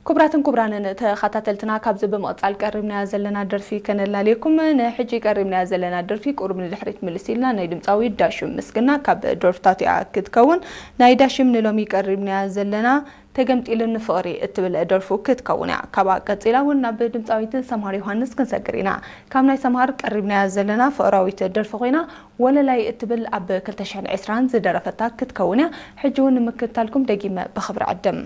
ክቡራትን ክቡራንን ተኸታተልትና፣ ካብዚ ብምቕጻል ቀሪብናያ ዘለና ደርፊ ከነላልየኩም። ንሕጂ ቀሪብናያ ዘለና ደርፊ ቁሩብ ንድሕሪት ምልስ ኢልና ናይ ድምጻዊ ዳሽም ምስግና ካብ ደርፍታቱ እያ ክትከውን። ናይ ዳሽም ንሎሚ ቀሪብናያ ዘለና ተገምጢሉኒ ፍቕሪ እትብል ደርፉ ክትከውን እያ። ካብኣ ቀጺላ እውን ናብ ድምጻዊት ሰምሃር ዮሃንስ ክንሰግር ኢና። ካብ ናይ ሰምሃር ቀሪብናያ ዘለና ፍቕራዊት ደርፊ ኮይና፣ ወለላይ እትብል ኣብ ክልተ ሽሕን ዕስራን ዝደረፈታ ክትከውን እያ። ሕጂ እውን ንምክትታልኩም ደጊመ ብኽብሪ ዕድም።